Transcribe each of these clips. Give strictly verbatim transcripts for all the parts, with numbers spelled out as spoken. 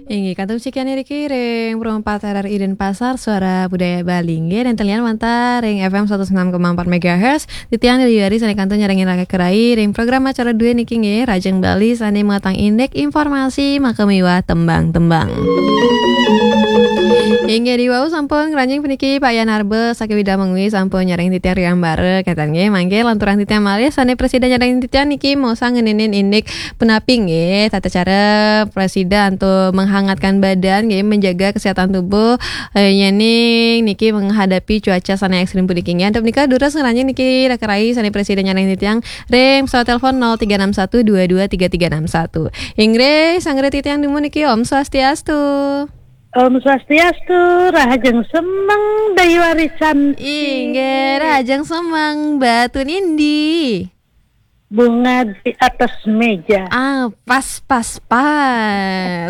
Inggih, kantun sekian niki ring Pro empat R R I Denpasar, Suara Budaya Bali. Inggih, dan talian mantar ring F M seratus enam koma empat megahertz. Titiang Dewi Ari sané kantun nyarengin raka rai ring program acara dué niki nggih, Rahajeng Bali sané matang indik informasi maka miwah tembang-tembang. Inggih, diwau sampun ngranjing puniki Pak Yan Arbe saking Widang Mengwi sampun nyarengin titiang ring ambara, kénten nggih, mangke lanturang titiang malih sané prasida nyarengin titiang niki maosang ngeninin indik punapi nggih tata cara prasida antuk menghangatkan badan nggih, menjaga kesehatan tubuh, eh, yéning niki menghadapi cuaca sané ekstrim puniki nggih. Antuk menika durus ngranjing niki raka rai sané prasida nyarengin titiang ring pesawat telepon nol tiga enam satu dua dua tiga tiga enam satu. Inggih, sanggre titiang dumun niki, Om Swastiastu. Om Swastiastu, rahajeng semeng Dayu Ari Cantik. Inggih, rahajeng semeng, Mbak, tun indi? Bunga di atas meja. Ah, pas, pas, pas.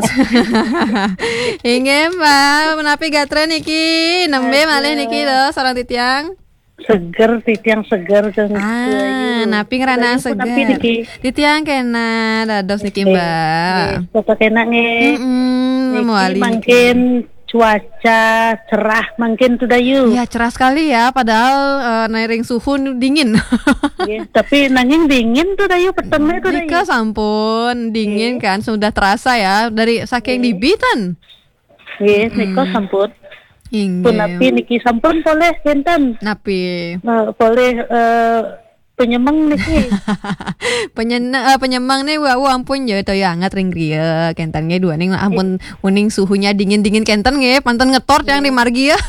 Inggih, Mbak, menapi gatra niki? Nembé malih niki lho, sareng titiang? Seger, titiang seger, Kang. Ah, napi ngrana seger? Titiang kénak dados niki, Mbak. Nggih, tetep kénak nggih. Mm-mm, niki mawali niki. Mangkin cuaca cerah mangkin tu Dayu. Ya, cerah sekali ya, padahal, eh, nairing suhu dingin. Nggih, tapi nanging dingin tu Dayu, petengé tu Dayu. Nika sampun dingin kan, sudah terasa ya, dari saking dibitan. Nggih, nika sampun. Inggih. Punapi niki sampun polih kénten? Napi? Eh, polih, eh, penyemeng niki. Penyen-, eh, penyemeng nih, wau ampun ya, toya anget ring griya. Kénten nggih, duaning ampun uning suhunya dingin-dingin kénten nggih, pantun ngetor tiang di margi ya.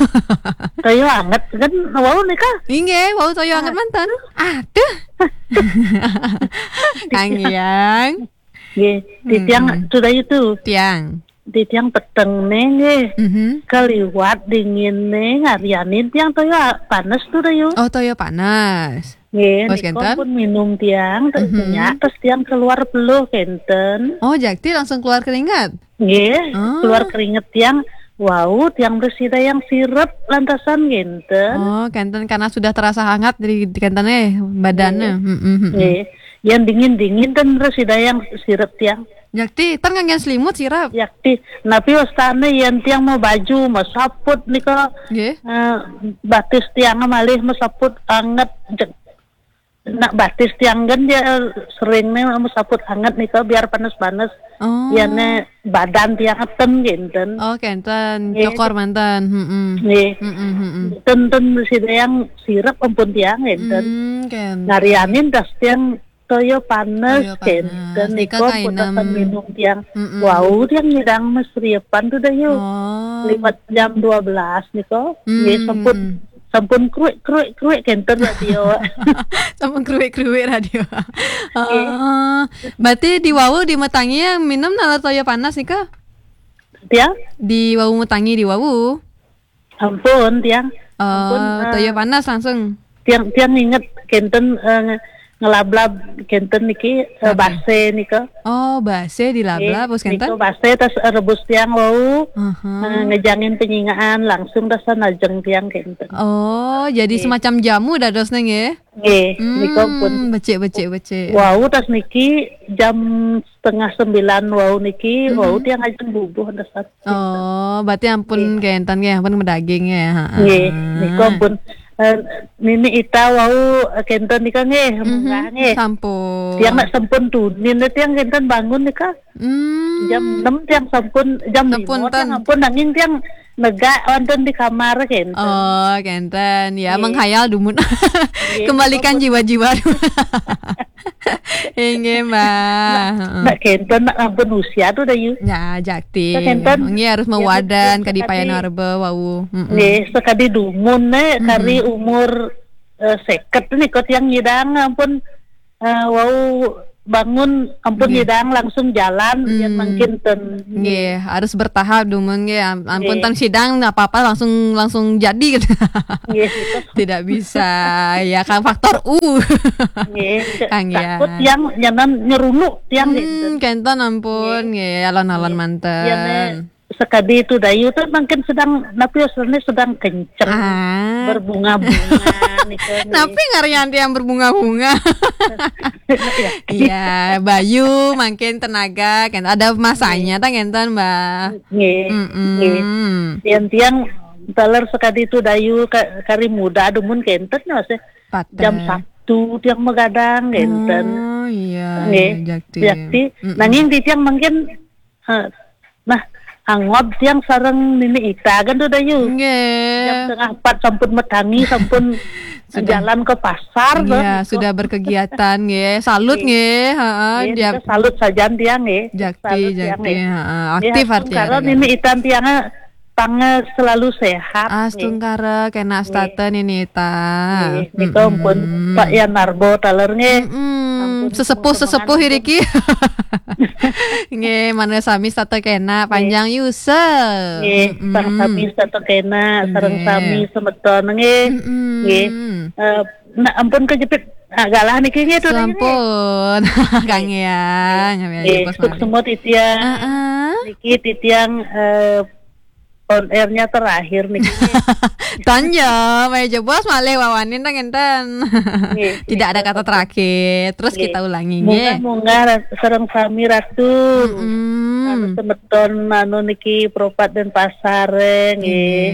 Toya anget kan, wau nika? Inggih, wau toya anget manten. Aduh. Kang Yang. Nggih, titiang tu Dayu tu. Tiang. Titiang peteng né nggih. Mhm. Kaliwat dingin né ngarianin tiang toya panas tu Dayu. Oh, toya panas. Nggih, nika pun minum tiang, mhm, terus tiang keluar peluh kénten. Oh, jakti langsung keluar keringat? Nggih, keluar keringat tiang. Wau, tiang prasidayang sirep lantasan kénten. Oh, kénten karena sudah terasa hangat di, di kénten eh, badannya. Nggih. Mm-mm, mm-mm. Nggih. Yang dingin-dingin ten prasidayang sirep tiang. Jakti, ten nganggen selimut sirep. Jakti, napi wastané yén tiang mau baju, mau saput nika, nggih, eh, batis tiang malih mau saput anget. Jek-, nak batis tiang kan dia, eh, sering nih mau saput anget nika biar panas-panas. Oh. Yén badan tiang ten kénten. Oh, kénten. Nggih. Cokor manten. Mm-mm. Nggih. Mm-mm, mm-mm. Ten, ten prasidayang sirep ampun tiang kénten. Mm, kénten. Ngarianin tas tiang toya panas, toya panas, kénten nika nika pun kainem. Tasan minum tiang. Mm-mm. Wau, tiang nyidang masriepan tu Dayu. Oh. Liwat jam dua belas nika. Nggih, sampun, sampun kruik, kruik, kruik kénten radio. Sampun kruik-kruik radio. Nggih. Oh, berarti di wau di matangi yang minum nalar toya panas nika? Tiang? Di wau matangi di wau. Ampun, tiang. Oh, ampun, eh, toya panas langsung. Tiang, tiang inget kénten, eh, nge-, ngelablab kénten niki, eh, napi? Basé nika. Oh, basé dilablab, nggih, terus kénten? Nika basé tas, eh, rebus tiang wau. Aha. Eh, ngejangin penyingaan langsung tas najeng tiang kénten. Oh, jadi semacam jamu dadosné nggih? Nggih, nika pun. Hmm, becik, becik, becik. Wau tas niki jam setengah sembilan wau niki, wau tiang ajeng bubuh dasar. Oh, berarti ampun kénten nggih, ampun medaging ya, heeh. Nggih, nika pun, eh, Nini Ita wau, eh, kénten nika nggih, munggah nggih. Sampun. Tiang nak sampun tunin, tiang kénten bangun nika. Hmm. Jam enam tiang sampun, jam lima tiang sampun, nanging tiang negak wonten di kamar kénten. Oh, kénten. Ya, nggih, menghayal dumun. Nggih, kembalikan jiwa-jiwa. Inggih, Mbak. Nak, heeh, nak kénten, nak ampun usia tu Dayu. Ya, jakti. Nak kénten. Nggih, harus ya, mawadan betul, kadipayan sekali. Arba wau. Mm-mm. Nggih, sekadi dumun né, kari umur, eh, seket nika tiang nyidang ampun, eh, wau bangun ampun nyidang langsung jalan, yén mangkin ten. Nggih, harus bertahap dumun nggih. Am-, ampun ten sidang apa-apa langsung, langsung jadi gitu. Nggih, gitu. Tidak bisa. Ya kan faktor U. Nggih, Kang, ya. Takut tiang nyanan nyerunuk tiang gitu. Hmm, kénten ampun nggih, alon-alon manten. Yén Sakadi tu Dayu tu mangkin sedang, napi, sedang kenceng. Ah. Berbunga-bunga nika. Napi ngarannya yang berbunga-bunga? Iya, bayu mangkin tenaga kan ada masanya tah ngenten, Mbak. Nggih. Mm-mm. Nggih. Yang tiang taler sakadi tu Dayu ka-, kari muda dumun kenten masih. Pateh. Jam satu tiang magadang kenten. Oh iya, nggih, iya, jakti. Jakti. Mm-mm. Nanging di tiang mangkin, eh, nah, angob tiang sareng Nini Ita kan tu Dayu. Nggih. Jam setengah empat sampun matangi, sampun jalan ke pasar. Iya, sudah berkegiatan nggih. Salut nggih, heeh. Nggih, salut sajan tiang nggih. Jakti, salut tiang, jakti, nggih. Heeh. Aktif artinya. Nggih, Nini Ita tiang pang selalu sehat. Astungkara kena setata Nini Ita. Nggih, nika ampun Pak Yan Narbo taler nggih. Mm-mm. Ampun, sesepuh-sesepuh iriki. Nggih, mana sami setata kena panjang yuswa. Nggih, sareng sami setata kena, sareng sami semeton nggih. Mm-mm. Nggih. Eh, nah, ampun kejepit, ah, galah niki nggih tu nggih. Sampun. Kang ya, nggih, sukses semua titiang. Heeh. Niki titiang, eh, on airnya terakhir nih. Tanya, maya jebos malih wawanin tang enten. Nggih. Tidak ada kata terakhir. Terus kita ulangi nggih. Munggah-munggah ra-, sareng sami Ratu. Mm-mm. Anu semeton anu niki Propat Denpasar nggih. Nggih.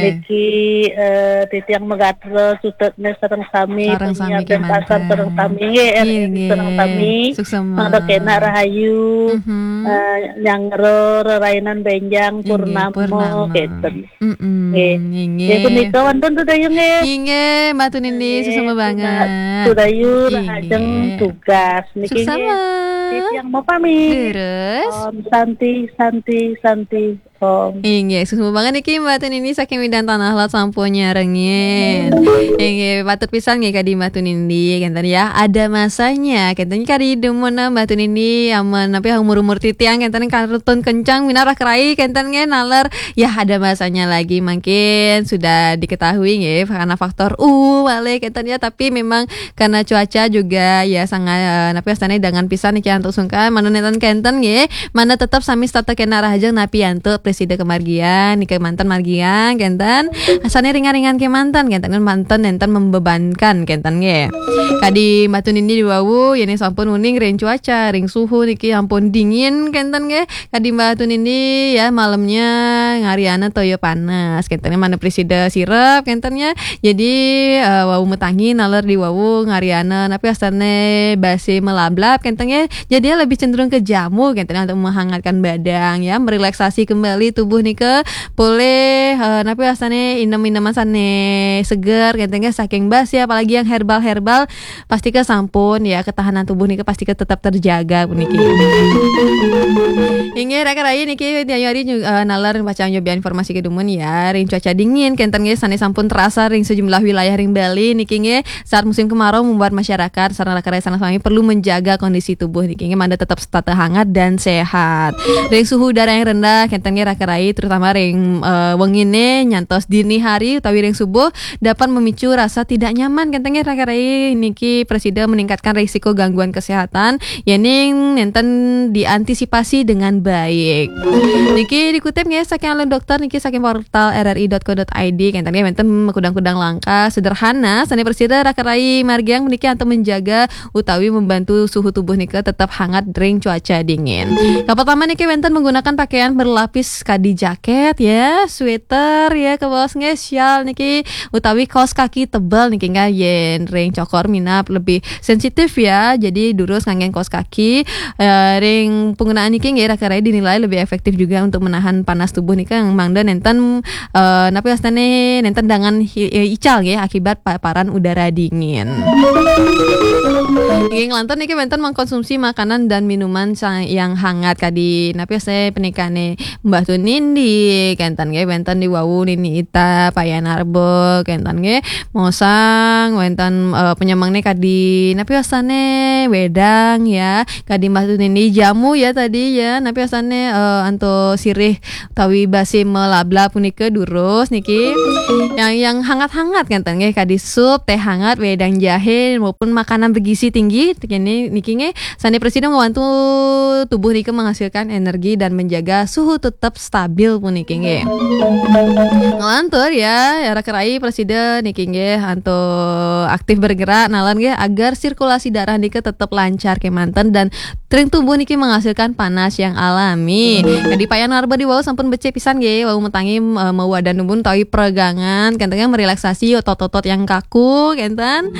Niki, eh, titiang Megatra sutetne sareng sami. Sareng sami penyiar Denpasar kemanten. Sareng sami nggih. Nggih, nggih. Sareng sami. Suksema. Mangda kena rahayu. Mhm. Eh, nyanggra rerainan benjang. Inggih, purnama, purnama. Kenten. Mm-mm, nggih. Nggih, punika wonten tu Dayu nggih. Inggih, Mbak Tunindi, nggih, suksema banget. Tu Dayu, inggih. Rahajeng tugas niki nggih. Suksema. Titiang mau pamit. Terus? Om Santi, Santi, Santi, Om. Inggih, suksema banget niki Mbak Tunindi saking Medan Tanah Lot sampun nyarengin. Inggih, patut pisan nggih kadi Mbak Tunindi, kenten ya. Ada masanya, kenten kadi dumun Mbak Tunindi, amun napi umur-umur titiang, kenten kartun kencang, minarah kerai, kenten nggih naler ya, ada masanya lagi mungkin sudah diketahui nggih, karena faktor u malih kenten ya, tapi memang karena cuaca juga ya sangat, eh, napi astane dangan pisan niki antuk sungkan, mana nenten kenten nggih, mana tetap sami setata kena rahajeng napi antuk presida kemargian, niki manten margian kenten, asane ringan-ringan kemanten kenten, manten nenten membebankan kenten nggih. Kadi Mbak Tunindi diwawu, yene sampun uning ring cuaca, ring suhu niki ampun dingin kenten nggih. Kadi Mbak Tunindi ya, malemnya ngariana toya panas. Kenten mana presida sirep kenten ya. Jadi, eh, wau metangi naler di wau ngariana napi astane base melablab kenten ya. Jadi ya lebih cenderung ke jamu kenten ya untuk menghangatkan badan ya, merelaksasi kembali tubuh nika. Boleh, eh, napi astane inem-ineman sane seger kenten ya, saking base ya, apalagi yang herbal-herbal. Pastika sampun ya, ketahanan tubuh nika pastika tetap terjaga puniki. Inggih, raka rai niki, Dayu Ari ju-, eh, nalar pacang nyobian informasi kedumun ya, ring cuaca dingin kenten nggih sane sampun terasa ring sejumlah wilayah ring Bali niki nggih, saat musim kemarau membuat masyarakat sareng raka rai sareng sami perlu menjaga kondisi tubuh niki nggih, mangda tetap setata hangat dan sehat. Ring suhu udara yang rendah kenten nggih raka rai, terutama ring, eh, wengine nyantos dini hari utawi ring subuh dapat memicu rasa tidak nyaman kenten nggih raka rai, niki presida meningkatkan risiko gangguan kesehatan, yening nenten diantisipasi dengan baik. Niki dikutip nggih saking alun dokter niki saking portal R R I dot co dot I D kenten nggih, wenten makudang-kudang langkah sederhana sane presida raka rai margiang niki antuk menjaga utawi membantu suhu tubuh nika tetap hangat ring cuaca dingin. Kapertama niki wenten menggunakan pakaian berlapis kadi jaket ya, sweater ya, kawas nggih, syal niki utawi kaos kaki tebal niki nggih, yen ring cokor minab lebih sensitif ya. Jadi durus nganggen kaos kaki, eh, ring penggunaan niki nggih raka rai dinilai lebih efektif juga untuk menahan panas tubuh nika yang mangda nenten, eh, napi astane nenten dangan hi-, eh, ical nggih akibat paparan udara dingin. Nggih, nglantur niki wenten mengkonsumsi makanan dan minuman sa-, yang hangat kadi napi astane penikane Mbah Tunindi, kenten nggih, wenten di wau Nini Ita, Payan Arbo, kenten nggih, mosang, wenten, eh, penyemeng nih kadi napi astane wedang ya, kadi Mbah Tunindi jamu ya tadi ya, napi astane, eh, antuk sirih utawi base melablab punika durus niki. Yang, yang hangat-hangat kenten nggih, kadi sup, teh hangat, wedang jahe maupun makanan bergizi tinggi niki, niki nggih, sane presida membantu tubuh nika menghasilkan energi dan menjaga suhu tetap stabil puniki nggih. Ngelantur ya, ya raka rai prasida niki nggih antuk aktif bergerak nalar nggih agar sirkulasi darah nika tetap lancar kemanten dan ring tubuh niki menghasilkan panas yang alami. Kadi Pak Yan Narba di wau sampun becik pisan nggih, wau metangi eh, mawadan tubuh utawi peregangan, kenten nggih merelaksasi otot-otot yang kaku kenten.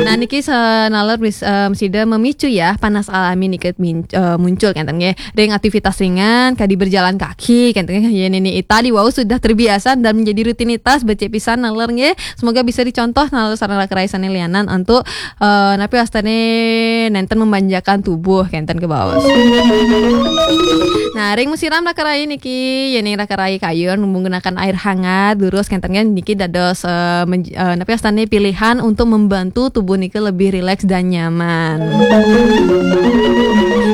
Nah niki senalar bis- eh, sida memicu ya panas alami nika min- eh, muncul kenten nggih. Ring aktivitas ringan, kadi berjalan kaki, kenten nggih. Yen ini tadi wau sudah terbiasa dan menjadi rutinitas, becik pisan nalar nggih. Semoga bisa dicontoh nalar sareng raka rai sane lianan untuk eh, napi wastane nenten memanjakan tubuh kenten kebaos. Nah, ring musiram raka rai niki, yen ing raka rai kayun menggunakan air hangat, durus kenten nggih niki dados eh, menj- eh, napi wastane pilihan untuk membantu tubuh niki lebih rileks dan nyaman.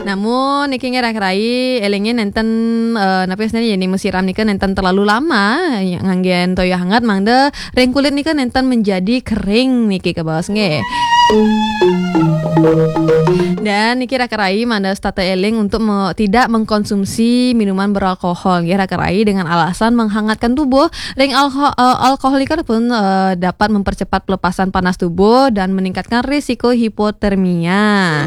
Namun niki nggih raka rai elinge nenten eh, napi wastane yen musiram nika nenten terlalu lama ya, nganggen toya hangat mangda ring kulit nika nenten menjadi kering niki kebaos nggih. Dan niki raka rai mangda setata eling untuk me- tidak mengkonsumsi minuman beralkohol nggih raka rai dengan alasan menghangatkan tubuh. Ring alko- eh, alkohol nika pun eh, dapat mempercepat pelepasan panas tubuh dan meningkatkan risiko hipotermia.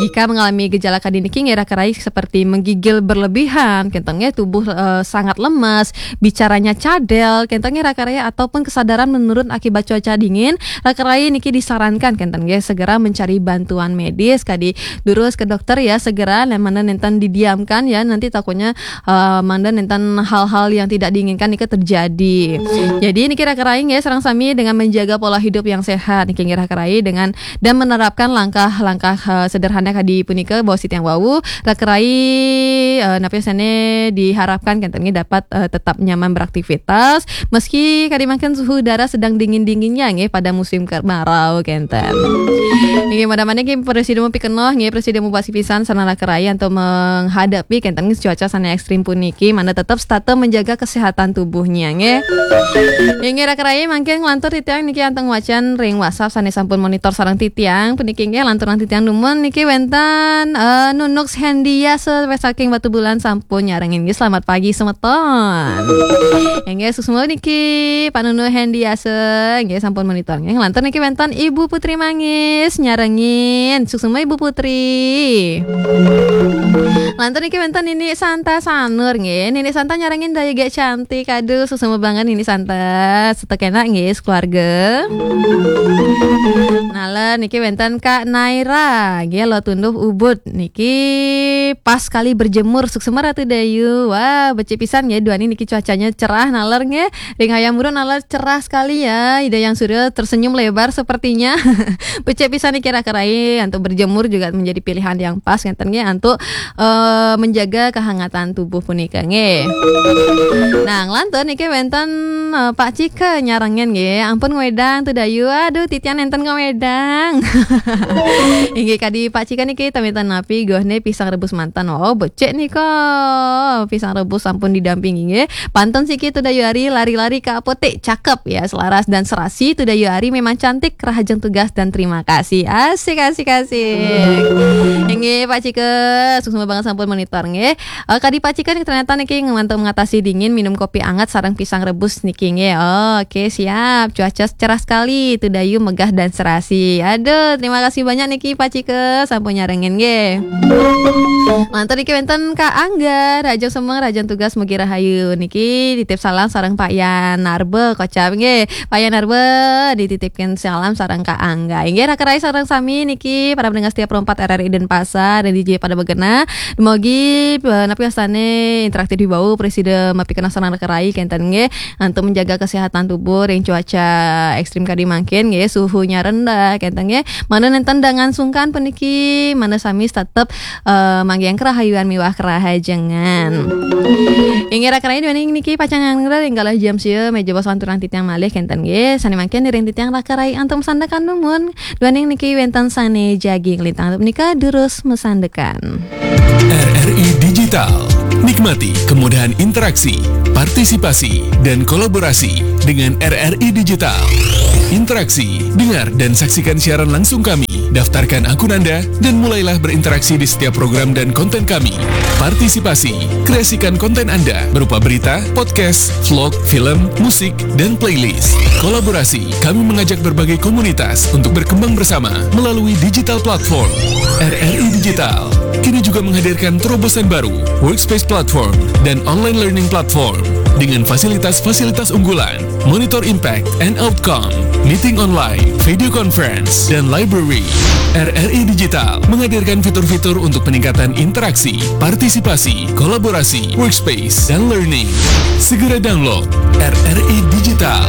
Jika mengalami gejala kadi niki nggih raka rai seperti menggigil berlebihan, kenten nggih tubuh eh, sangat lemas, bicaranya cadel, kenten nggih raka rai ataupun kesadaran menurun akibat cuaca dingin, raka rai niki disarankan kenten nggih segera mencari bantuan medis kadi durus ke dokter ya segera, lemana nenten didiamkan ya nanti takutnya eh, mangda nenten hal-hal yang tidak diinginkan nika terjadi. Jadi niki raka rai nggih sareng sami dengan menjaga pola hidup yang sehat niki nggih raka rai dengan dan menerapkan langkah-langkah eh, sederhana kadi punika baos titiang wau raka rai eh, napi sane diharapkan kenten nggih dapat eh, tetap nyaman beraktivitas meski kadi mangkin suhu udara sedang dingin-dinginnya nggih pada musim kemarau kenten. Nggih madamane nggih presiden mupikenoh nggih presiden mubasi pisan sareng raka rai untuk menghadapi kenten cuaca sane ekstrim puniki mangda tetap setata menjaga kesehatan tubuhnya nggih. Inggih raka rai mangkin nglantur titiang niki antuk wacan ring WhatsApp sane sampun monitor sareng titiang puniki nggih lanturang titiang dumun niki wenten eh, Nunuk Hendia saking Batubulan sampun nyarengin nggih selamat pagi semeton. Inggih suksma niki Pak Nunuk Hendia nggih sampun monitor nggih lantur niki wenten Ibu Putri Mangis nyarengin suksma Ibu Putri. Lantur niki wenten Nini Santa Sanur nggih. Nini Santa nyarengin daya gek cantik. Aduh, suksma banget Nini Santa. Setek enak nggih sekeluarga. Nalar niki wenten Kak Naira nggih lo tunduh Ubud niki pas kali berjemur suksma Ratu Dayu. Wah, becik pisan nggih duani niki cuacanya cerah nalar nggih. Ring hayam buruk nalar cerah sekali ya. Ida Yang Surya tersenyum lebar sepertinya. Becik pisan niki raka rai untuk berjemur juga menjadi pilihan yang pas ngeten nggih untuk eh, menjaga kehangatan tubuh punika nggih. Nah, nglantur niki wenten eh, Pak Cika nyarengin nggih. Ampun ngwedang tu Dayu. Aduh, titian nenten ngwedang. Inggih kadi Pak Cika niki tamitan napi gohne pisang rebus mantan. Oh, becik nika. Pisang rebus sampun didampingi nggih. Pantun siki tu Dayu Ari lari-lari ke apotek. Cakep ya, selaras dan serasi tu Dayu Ari memang cantik. Rahajeng tugas dan terima kasih. Asik, asik, asik. Inggih Pak Cika, suksma banget sampun monitor nggih. Eh, kadi Pak Cika nih ternyata niki ngebantu mengatasi dingin minum kopi anget sareng pisang rebus niki nggih. Oh, oke, siap. Cuaca cerah sekali. Tu Dayu megah dan serasi. Aduh, terima kasih banyak niki Pak Cika sampun nyarengin nggih. Lantur niki wenten Kak Angga, Rahajeng semeng, rahajeng tugas mugi rahayu. Niki titip salam sareng Pak Yan Narba kocap nggih. Pak Yan Narba dititipkan salam sareng Kak Angga. Inggih raka rai sareng sami niki para pendengar setia Pro empat R R I Denpasar dan D J pada begenah. Dumogi eh, napi wastane interaktif di bawah presida mapi kena sareng raka rai kenten nggih. Untuk menjaga kesehatan tubuh ring cuaca ekstrim kadi mangkin nggih, suhunya rendah kenten nggih. Mana nenten dengan sungkan puniki, mana sami tetep eh, manggihan kerahayuan miwah kerahajengan. Inggih raka rai duaning niki pacang nganggur ring galah jam sia meja bos lanturang titiang malih kenten nggih. Sane mangkin ring titiang raka rai antum sandakan dumun. Duaning niki wenten sane jagi nglintang nika durus mesandekan. R R I Digital. Nikmati kemudahan interaksi, partisipasi, dan kolaborasi dengan R R I Digital. Interaksi, dengar dan saksikan siaran langsung kami Daftarkan akun Anda dan mulailah berinteraksi di setiap program dan konten kami. Partisipasi, kreasikan konten Anda berupa berita, podcast, vlog, film, musik, dan playlist. Kolaborasi, kami mengajak berbagai komunitas untuk berkembang bersama melalui digital platform. R R I Digital kini juga menghadirkan terobosan baru, Workspace Platform, dan Online Learning Platform, dengan fasilitas-fasilitas unggulan, Monitor Impact and Outcome, Meeting Online, Video Conference, dan Library. R R I Digital menghadirkan fitur-fitur untuk peningkatan interaksi, partisipasi, kolaborasi, workspace, dan learning. Segera download R R I Digital.